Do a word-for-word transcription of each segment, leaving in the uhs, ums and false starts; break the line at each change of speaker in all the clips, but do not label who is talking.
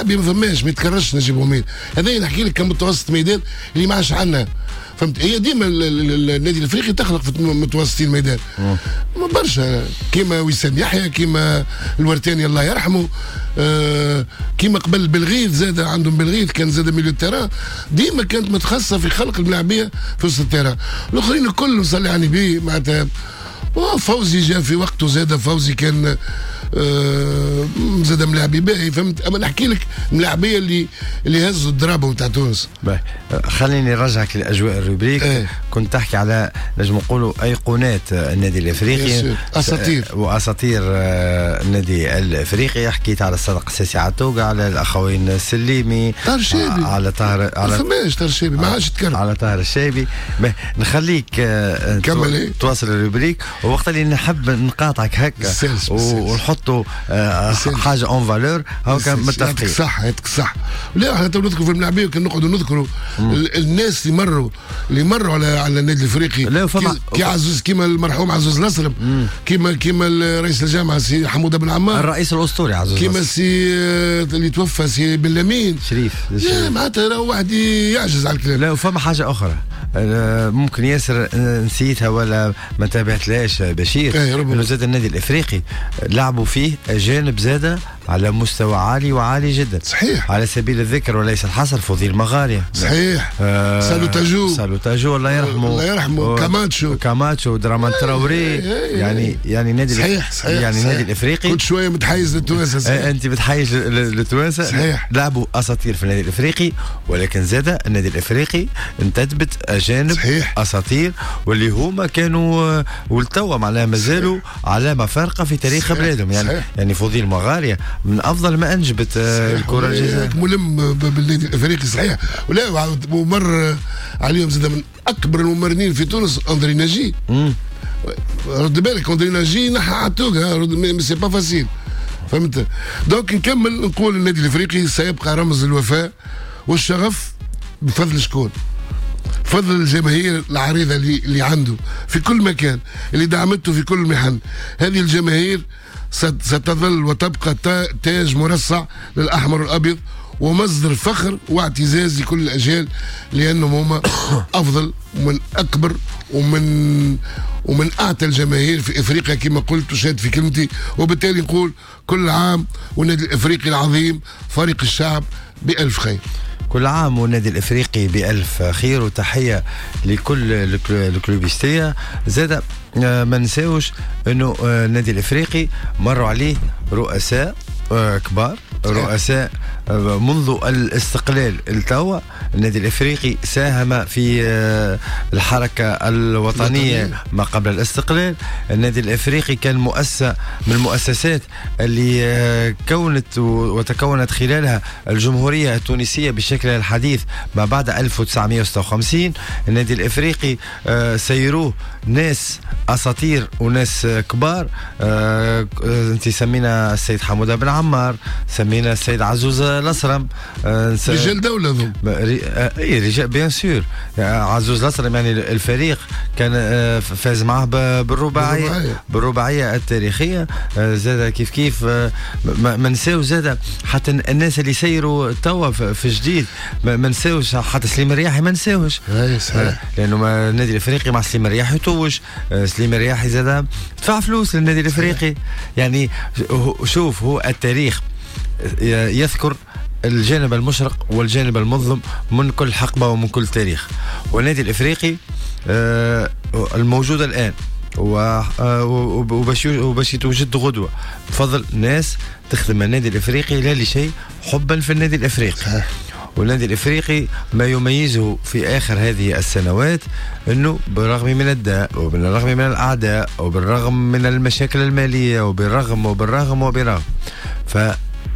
ملاعبي ما فماش، ما يتكررش نجيب حميد. هذا نحكي لك كمتوسط ميدان اللي ما عادش عندنا، فهمت؟ هي ديما النادي الافريقي تخلق في متوسطين الميدان برشا، كيما وسام يحيى، كيما الورتاني الله يرحمه، آه كيما قبل بالغيث زاد عندهم بالغيث كان زاد milieu terrain، ديما كانت متخصصة في خلق الملاعبيه في وسط ال terrain. الاخرين الكل صلي على النبي معناتها. فوزي جاء في وقته زاد، فوزي كان آه زاد ملاعبي باهي، فهمت؟ اما نحكي لك ملاعبيه اللي اللي هزوا ال drapeau نتاع تونس.
باهي، خليني نرجعك لاجواء ال rubrique. ايه. كنت تحكي على نجم نقولوا ايقونات النادي الافريقي،
اساطير
واساطير النادي الافريقي. حكيت على الصادق الساسي عتوقة، على الاخوين السليمي،
طاهر الشيبي،
على طاهر،
على فماش طاهر الشيبي ما عادش تكرر،
على طاهر الشيبي. نخليك كمل تواصل ال rubrique، ووقت اللي نحب نقاطعك هكا ونحطوا حاجة en valeur هاكا متفقين.
يعطيك صح، يعطيك صح. لا احنا تو نذكروا في الملاعبيه، كان نقعدوا نذكروا الناس اللي مروا اللي مروا على على النادي الافريقي.
لا فما
كي عزوز، كيما المرحوم عزوز الاسرم، كيما كيما رئيس الجامعة سي حموده بن عمار،
الرئيس الاسطوري عزوز،
كيما سي اللي توفى سي بن لمين
شريف.
معناتها واحد يعجز على الكلام.
لا وفما حاجة اخرى ممكن ياسر نسيتها ولا ما تابعتلاش بشير، انه زاد النادي الافريقي لعبوا فيه اجانب زاده على مستوى عالي وعالي جدا.
صحيح.
على سبيل الذكر وليس الحصر فضيل مغارية.
صحيح. آه سالو تاجو،
سالو تاجو الله يرحمه،
الله يرحمه، كاماتشو،
كاماتشو، درامان تراوري. يعني يعني النادي
صحيح صحيح
يعني النادي الافريقي
كنت شوية متحيز للتوانسه.
آه انت متحيز للتوانسه.
صحيح.
لعبوا اساطير في النادي الافريقي، ولكن زاد النادي الافريقي انتدبت اجانب.
صحيح.
اساطير واللي هما كانوا والتوا معناها مازالوا علامة فارقه في تاريخ بلادهم. يعني صحيح. يعني فضيل مغاريه من افضل ما انجبت الكره الجزائرية،
ملم بالنادي الافريقي. صحيح. ولا ومر عليهم زاد من اكبر الممرنين في تونس اندري ناجي. رد بالك اندري ناجي نحى عتوقه، c'est pas facile، فهمت؟ donc نكمل نقول النادي الافريقي سيبقى رمز الوفاء والشغف بفضل شكون؟ فضل الجماهير العريضة اللي, اللي عنده في كل مكان، اللي دعمته في كل محن. هذه الجماهير ستظل وتبقى تاج مرصع للأحمر والأبيض ومصدر فخر واعتزاز لكل الأجيال، لأنهم هم أفضل ومن أكبر ومن ومن أعتى الجماهير في إفريقيا كما قلت وشهدت في كلمتي. وبالتالي نقول كل عام والنادي الإفريقي العظيم فريق الشعب بألف خير.
كل عام والنادي الافريقي بالف خير، وتحية لكل الكلوبيستيه. زاد ما نساوش انه النادي الافريقي مروا عليه رؤساء كبار، رؤساء منذ الاستقلال التوا. النادي الافريقي ساهم في الحركة الوطنية ما قبل الاستقلال. النادي الافريقي كان مؤسسة من المؤسسات اللي كونت وتكونت خلالها الجمهورية التونسية بشكلها الحديث ما بعد ألف وتسعمائة وستة وخمسين. النادي الافريقي سيروه ناس اساطير وناس كبار. انت سمينا السيد حموده بن عمار، سمينا السيد عزوز الاسرم،
رجال دولة ذو
اي رجال bien sûr. عزوز الاسرم يعني الفريق كان فاز معاه بالرباعيه، بالرباعيه التاريخية. زاد كيف كيف ما نساو زاد حتى الناس اللي سيروا توا في جديد، ما نساوش حتى سليم الرياحي، ما نساوش لانه النادي الافريقي مع سليم الرياحي توج. سليم الرياحي زاد دفع فلوس للنادي الافريقي. يعني شوف، هو التاريخ يذكر الجانب المشرق والجانب المظلم من كل حقبة ومن كل تاريخ. والنادي الإفريقي الموجود الآن وباش يتوجد غدوة بفضل ناس تخدم النادي الإفريقي لا لشيء، حبا في النادي الإفريقي. والنادي الإفريقي ما يميزه في آخر هذه السنوات أنه بالرغم من الداء وبالرغم من الأعداء وبالرغم من المشاكل المالية وبالرغم وبالرغم وبالرغم،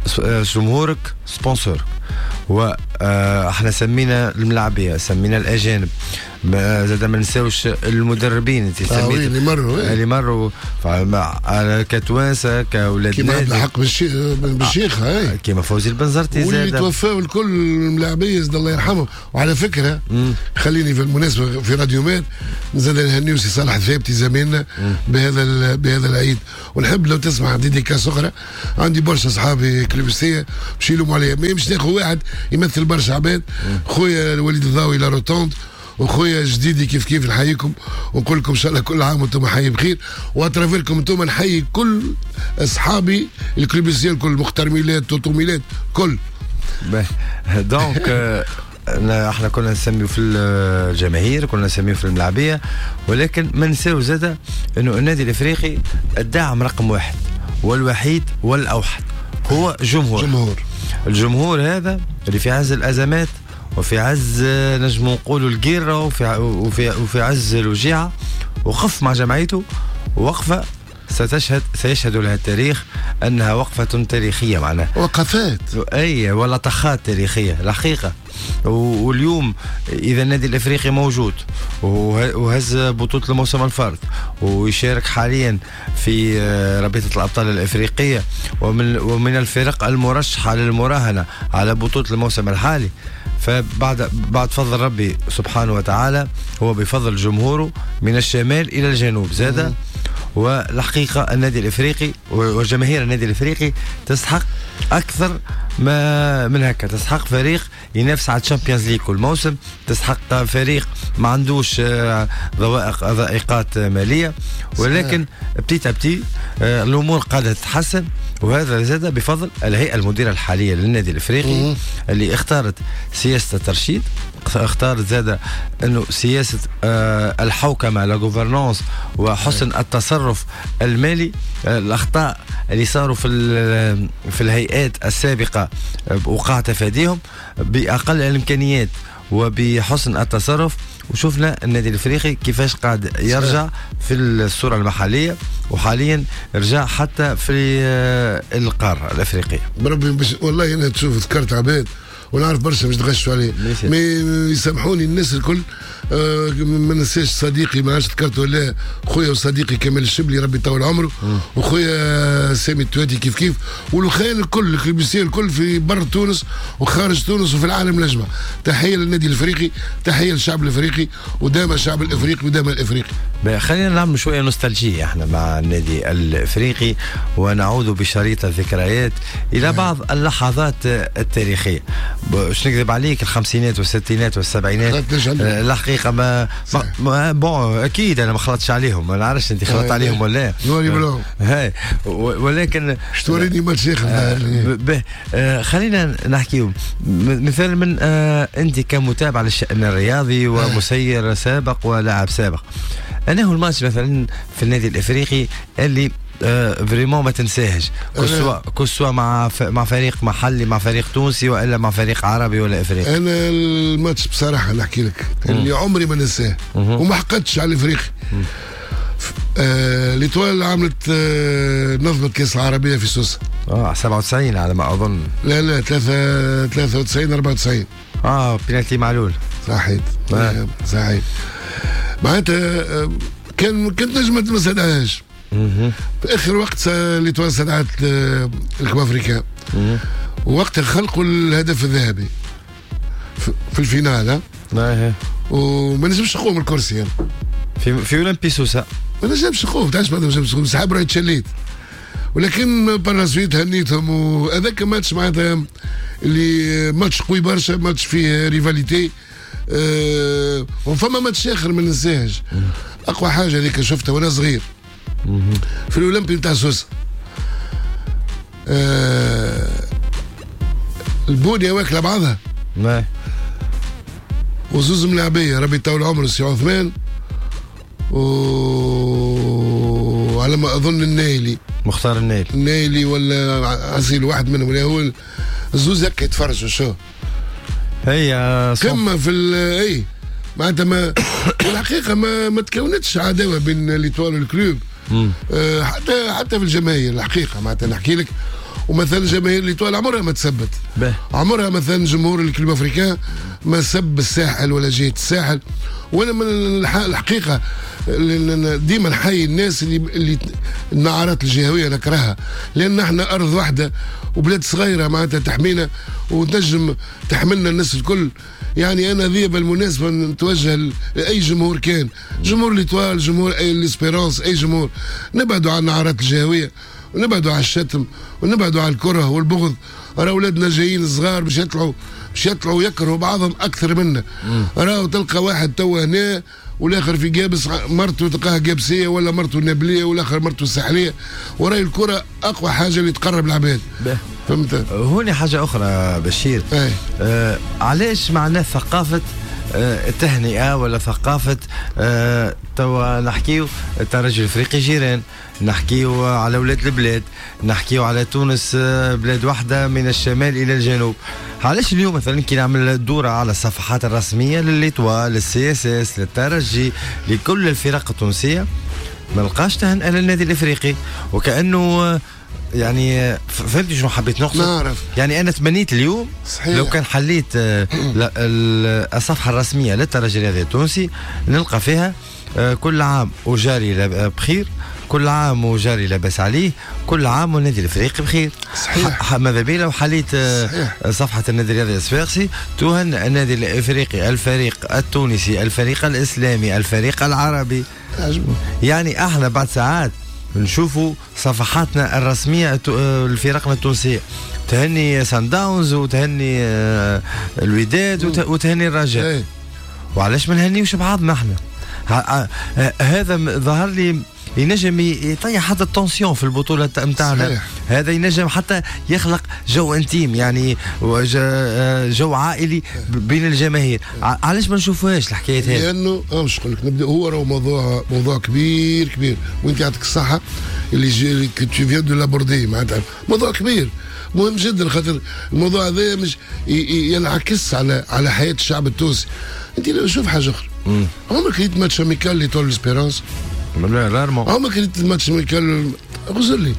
فجمهورك sponsor، واحنا سمينا الملاعبيه، سمينا الاجانب، زاد ما نساوش المدربين. انت
سميت آه اللي مروا
اللي مروا كتوانسه كاولاد
كيما عبد الحق بالشيخ آه
كيما فوزي البنزرتي
زاد، واللي توفاو الكل الملاعبيه زاد الله يرحمهم. وعلى فكرة مم. خليني في المناسبة في راديو ماد نزيد نهنيو سي صالح الثابتي زميلنا بهذا بهذا العيد، ونحب لو تسمع dédicace اخرى. عندي برشا اصحابي كلوبستيه باش يلوموا عليا، ما مش ناخذ واحد يمثل برشا عباد. خويا الوليد الضاوي la Rotonde، وخويا جديدي كيف كيف نحييكم ونقول لكم ان شاء الله كل عام وانتم حي بخير. و à travers كم انتم نحيي كل اصحابي الكلوبيسيين الكل، مختار ميلاد، توتو ميلاد، كل.
donc احنا كنا نسميو في الجماهير، كنا نسميو في الملاعبيه، ولكن ما نساو زاده انه النادي الافريقي الداعم رقم واحد والوحيد والاوحد هو جمهور.
جمهور
الجمهور هذا اللي في عز الازمات وفي عز نجم نقولوا القيره وفي وفي وفي عز الوجيعه وقف مع جمعيته وقفه ستشهد سيشهد لها التاريخ انها وقفه تاريخية، معناها
وقفات
اي ولا طخات تاريخية الحقيقة. واليوم اذا النادي الافريقي موجود وهز بطوله الموسم الفارط ويشارك حاليا في رابطه الابطال الافريقية ومن ومن الفرق المرشحه للمراهنه على بطوله الموسم الحالي، فبعد بعد فضل ربي سبحانه وتعالى هو بفضل جمهوره من الشمال الى الجنوب زاد. والحقيقة النادي الافريقي وجماهير النادي الافريقي تستحق اكثر ما من هكا، تستحق فريق ينافس على ال Champions League كل موسم، تستحق فريق ما عندوش ضوائق ضائقات ماليه، ولكن petit à petit الامور قاعدة تتحسن، وهذا زاد بفضل الهيئة المديرة الحالية للنادي الافريقي اللي اختارت سياسة الترشيد، اختارت زاد انه سياسة الحوكمة la gouvernance وحسن التصرف المالي. الاخطاء اللي صاروا في في الهيئات السابقة وقع تفاديهم باقل الامكانيات وبحسن التصرف، وشفنا النادي الافريقي كيفاش قاعد يرجع في الصورة المحلية، وحاليا رجع حتى في القارة الافريقية.
بربي باش والله انا تشوف ذكرت عباد ونعرف برشا باش تغشوا عليه، mais يسامحوني الناس الكل. آه ما ننساش صديقي، ما عادش ذكرته ولا خويا وصديقي كمال الشبلي ربي يطول عمره، وخويا سامي التواتي كيف كيف، والخيال الكل الكلوبيسيه الكل في بر تونس وخارج تونس وفي العالم الاجمع. تحية للنادي الافريقي، تحية للشعب الافريقي، ودام الشعب الافريقي ودام الافريقي.
خلينا نعمل شوية nostalgie احنا مع النادي الافريقي ونعود بشريط الذكريات الى بعض اللحظات التاريخية. باش نكذب عليك الخمسينات والستينات والسبعينات الحقيقة ما, ما bon اكيد انا ما خلطتش عليهم، ما نعرفش انت خلطت عليهم ولا
لا،
هاي ولكن
توريني ماتش
آه خلينا نحكيو مثلا من آه انت كمتابع للشأن الرياضي ومسير سابق ولاعب سابق، انا هو الماتش مثلا في النادي الافريقي اللي آه vraiment ما تنساهش، que ce soit que ce soit مع ف... مع فريق محلي، مع فريق تونسي، والا مع فريق عربي ولا افريقي.
انا الماتش بصراحة نحكي لك اللي عمري ما ننساه وما حقدتش على الافريقي. آه l'Étoile عملت آه نظمت كاس العربية في سوسة
اه سبعة وتسعين على ما اظن.
لا لا ثلاثة وتسعين أربعة وتسعين
اه بينالتي معلول.
صحيت آه. صحيت معناتها كان كنت نجم ما نستدعاش. في اخر وقت l'Étoile استدعت ال Club Africain وقت خلقوا الهدف الذهبي في ال finale،
ها
وما نجمش نقوم الكرسي يعني.
في في اولمبي سوسة
ما نجمش نقوم، تعرفش ما نجمش نقوم، سحب راهي تشليت، ولكن par la suite هنيتهم. وهذاك ماتش معناتها اللي ماتش قوي برشا، ماتش فيه rivalité. أه وفما ماتش اخر ما ننساهش، اقوى حاجة هذيك شفتها وانا صغير في الاولمبي نتاع سوسة. أه البونيه واكله بعضها وزوز ملاعبيه ربي يطول عمره سي عثمان وعلى ما اظن النايلي،
مختار النايلي،
النايلي ولا عسيل واحد منهم، ولا هو الزوز هكا يتفرجوا شو
هي
قمة في اي معناتها ما والحقيقة ما ما تكونتش عداوة بين l'Étoile وال Club، أه حتى حتى في الجماهير الحقيقة معناتها نحكي لك. ومثلا جماهير l'Étoile عمرها ما تثبت، عمرها مثلا جمهور ال Club Africain ما سب الساحل ولا جهة الساحل. وانا من الحقيقة ديما نحيي الناس اللي اللي النعرات الجهوية نكرهها، لان احنا ارض واحدة وبلاد صغيرة معناتها تحمينا وتنجم تحملنا الناس الكل. يعني انا ذي بالمناسبة نتوجه لاي جمهور كان، جمهور l'Étoile، جمهور اي l'Espérance، اي جمهور، نبعدوا عن النعرات الجهوية ونبعدوا على الشتم ونبعدوا على الكره والبغض. راه اولادنا جايين صغار باش يطلعوا باش يطلعوا يكرهوا بعضهم اكثر منا. راهو تلقى واحد توا هنا والاخر في قابس، مرته تلقاها قابسيه ولا مرته نابليه والاخر مرته ساحليه. وراي الكره اقوى حاجة اللي تقرب العباد. فهمت؟
هوني حاجة اخرى بشير. آه علاش معناه ثقافة آه التهنئة ولا ثقافة آه توا نحكيو الترجي الافريقي جيران، نحكيو على اولاد البلاد، نحكيو على تونس بلاد واحدة من الشمال الى الجنوب. علاش اليوم مثلا كي نعمل دوره على الصفحات الرسمية ل l'Étoile، لل CSS، للترجي، لكل الفرق التونسية، ما نلقاش تهنئة للنادي الافريقي؟ وكانه يعني فهمت شنو حبيت نقصد؟
نعرف.
يعني انا تمنيت اليوم
صحيح.
لو كان حليت الصفحة الرسمية للترجي الرياضي التونسي نلقى فيها كل عام وجاري بخير، كل عام وجاري لاباس عليه، كل عام والنادي الافريقي بخير.
صحيح.
ماذا بي لو حليت صفحة النادي الرياضي الصفاقسي تهنئ النادي الافريقي، الفريق التونسي، الفريق الاسلامي، الفريق العربي. يعني احنا بعد ساعات نشوفوا صفحاتنا الرسمية لفرقنا التونسية تهني سان داونز وتهني الوداد وتهني الرجاء. وعلاش ما نهنيوش بعضنا احنا؟ هذا ظهر لي ينجم يطيح حتى ال tension في البطولة نتاعنا. هذا ينجم حتى يخلق جو intime، يعني جو عائلي بين الجماهير. علاش ما نشوفوهاش الحكاية هذه؟
لانه اه مش نقول لك نبدا، هو راهو موضوع موضوع كبير كبير، وانت يعطيك الصحة اللي tu viens de l'aborder، معناتها موضوع كبير مهم جدا، خاطر الموضوع هذا مش ينعكس على على حياة الشعب التونسي. انت لو شوف حاجة اخرى، عمرك ريت match amical l'Étoile l'Espérance؟
لا rarement.
عمرك ريت match amical؟ غزر لي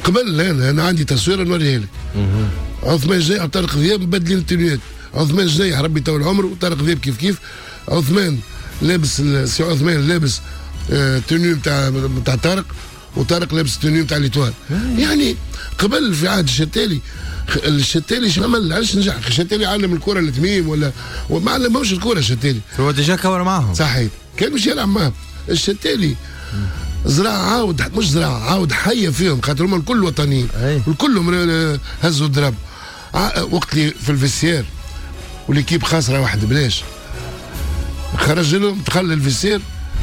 قبل انا انا عندي تصويره نوريها لك. عثمان جنيح وطارق ذياب مبدلين التنويات. عثمان جنيح ربي يطول عمره وطارق ذياب كيف كيف. عثمان لابس، سي عثمان لابس آه tenue نتاع نتاع طارق، وطارق لابس tenue نتاع l'Étoile. يعني قبل في عهد الشتالي، الشتالي شو عمل؟ علاش نجح؟ الشتالي علم الكره لتميم ولا وما علمهمش الكره الشتالي.
هو déjà كور معاهم.
صحيح، كان مش يلعب معاهم. الشتالي زرع عاود، مش زرع عاود حيه فيهم، خاطر هما الكل وطنيين، الكلهم هزوا الضرب. وقت اللي في ال vestiaire و l'équipe خاسرة واحد بلاش، خرج لهم دخل ال vestiaire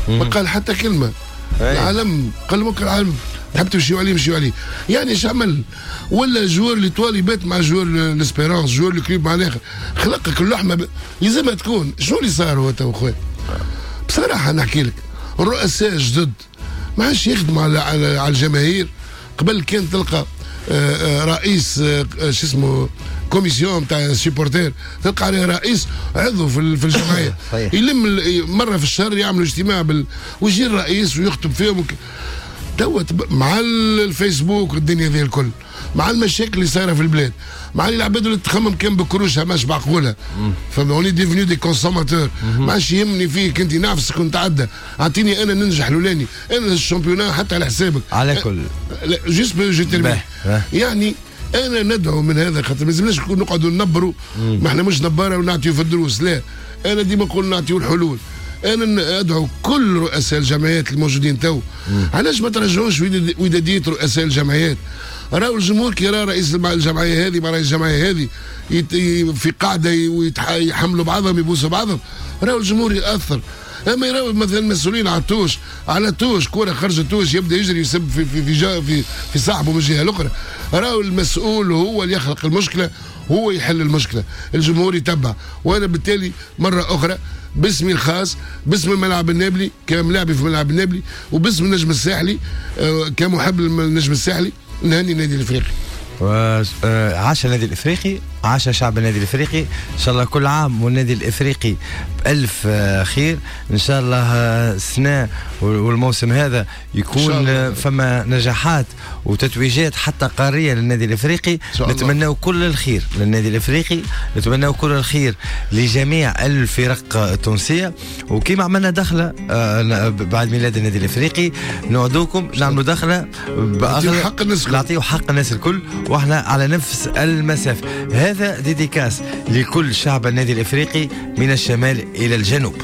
ما قال حتى كلمة. العالم قال لهم العالم تحب تمشيو عليه مشيو عليه. يعني ايش عمل؟ ولا joueur l'Étoile يبات مع joueur l'Espérance، joueur ال Club مع الاخر، خلقك اللحمة ب... يلزمها تكون. شنو اللي صار هو تو خويا؟ بصراحة نحكي لك، الرؤساء جدد ما عادش يخدموا على على الجماهير. قبل كان تلقى رئيس شو اسمه commission تاع supporters، تلقى عليه رئيس عضو في في الجمعية يلم مرة في الشهر يعملوا اجتماع بال... ويجي الرئيس ويخطب فيهم وك... توا مع الفيسبوك والدنيا ذي الكل، مع المشاكل اللي صايرة في البلاد، مع العباد اللي تخمم كان بكروشها ماش بعقولها، فما on est devenus des consommateurs. ما عادش يهمني فيك انت، نعفسك ونتعدى، اعطيني انا ننجح لولاني، انا ال championnat حتى على حسابك.
على كل
juste je termine. يعني انا ندعو من هذا، خاطر ما لازمناش نقعدوا ننبروا، ما احنا مش نباره ونعطيو في الدروس، لا، انا ديما نقول نعطيو الحلول. انا ادعو كل رؤساء الجمعيات الموجودين تو، علاش ما ترجعوش وداديه رؤساء الجمعيات؟ راهو الجمهور كي يرى رئيس الجمعية هذه مع رئيس الجمعية هذه في قاعدة ويحملوا بعضهم يبوسوا بعضهم، راهو الجمهور ياثر. اما يراو مثلا مسؤولين على touche، على touche كره خرجت touche يبدا يجري يسب في في في, في, في صاحبه من الجهة الاخرى. راهو المسؤول هو اللي يخلق المشكلة، هو يحل المشكلة، الجمهور يتبع. وانا بالتالي مرة اخرى باسمي الخاص، باسم الملعب النابلي كملاعبي في الملعب النابلي، وباسم النجم الساحلي كمحب للنجم الساحلي، نهني النادي الافريقي.
عاش النادي الافريقي، عاش شعب النادي الافريقي. ان شاء الله كل عام والنادي الافريقي بالف خير. ان شاء الله السنة والموسم هذا يكون فما نجاحات وتتويجات حتى قارية للنادي الافريقي. نتمنى كل الخير للنادي الافريقي، نتمنى كل الخير لجميع الفرق التونسيه. وكما عملنا دخله بعد ميلاد النادي الافريقي، نوعدوكم نعملوا دخله
نعطيو حق الناس الكل،
نعطيو حق الناس الكل، واحنا على نفس المسافه. هذا dédicace لكل شعب النادي الافريقي من الشمال الى الجنوب.